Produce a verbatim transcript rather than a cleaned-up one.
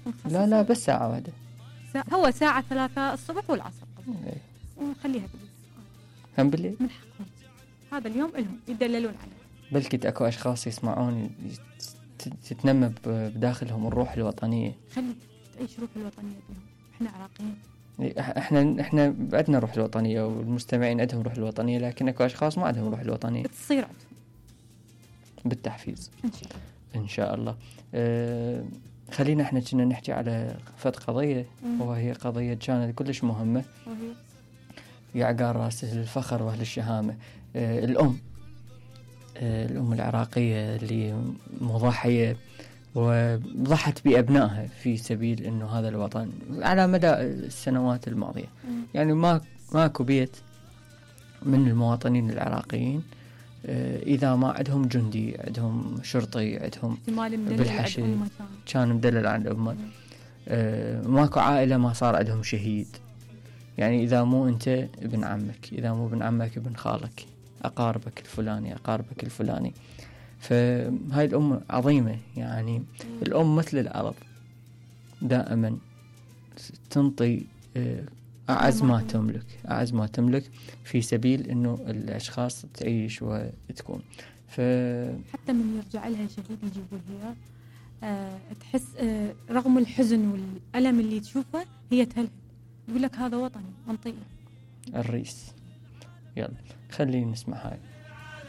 نخصص لا لا بس ساعة واحدة. ساعة هو ساعة ثلاثة الصبح والعصر إيه. ونخليها بالليل. هم بالليل؟ من حقهم هذا اليوم لهم يدللون عليه. بلكي اكو اشخاص يسمعون تتنمى بداخلهم الروح الوطنية. خلي تعيش روح الوطنية بهم. احنا عراقيين. احنا احنا عندنا روح الوطنية والمستمعين عندهم روح الوطنية، لكن اكو اشخاص ما عندهم روح الوطنية. تصير عندهم بالتحفيز ان شاء الله. ان شاء الله. أه خلينا احنا كنا نحكي على فد قضية، وهي قضية كانت كلش مهمة، وهي يعقار راسه الفخر واهل الشهامة. أه الام أه الام العراقية اللي مضحية وضحت بأبنائها في سبيل انه هذا الوطن على مدى السنوات الماضية. مم. يعني ما ماكو بيت من المواطنين العراقيين إذا ما عندهم جندي، عندهم شرطي، عندهم بالحشد كان مدلل عن أمه. أه ماكو عائلة ما صار عندهم شهيد. يعني إذا مو أنت ابن عمك، إذا مو ابن عمك ابن خالك، أقاربك الفلاني أقاربك الفلاني. فهاي الأم عظيمة. يعني الأم مثل الأرض دائما تنطي أه أعز ما تملك، أعز ما تملك في سبيل إنه الأشخاص تعيش وتكون. ف حتى من يرجع لها شهيد يجيبوا لها أه تحس أه رغم الحزن والألم اللي تشوفه هي تهلهل، يقول لك هذا وطني منطقي. الرئيس. يلا خلينا نسمع هاي.